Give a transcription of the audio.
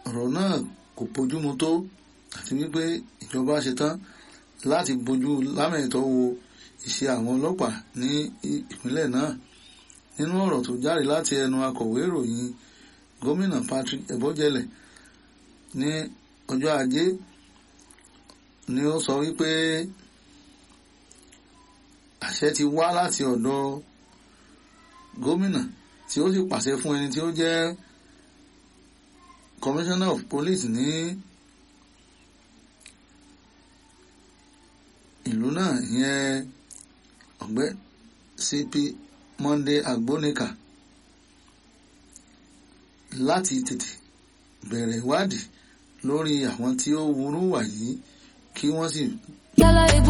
ọ̀rọ̀ náà kò bójúmu tó àti wípé ìjọba ṣetán láti bójú lámẹ̀tọ́ wo ìṣe àwọn ọlọ́pàá ní ìpínlẹ̀ náà. Nínú ọ̀rọ̀ tó jáde láti ẹnu akọ̀wé ìròyìn gómìnà Patrick Ebojele ní ọjọ́ ajé ni ó sọ wípé àṣẹ ti wá láti ọ̀dọ̀ gómìnà tí ó sì pàṣẹ fún ẹni tí ó jẹ́ commissioner of police ní ìlú náà, ìyẹn ọ̀gbẹ́ CP Monday Agbonika, láti tètè bẹ̀rẹ̀ ìwádìí lórí àwọn tí ó wúrú wà yìí kí wọ́n sì.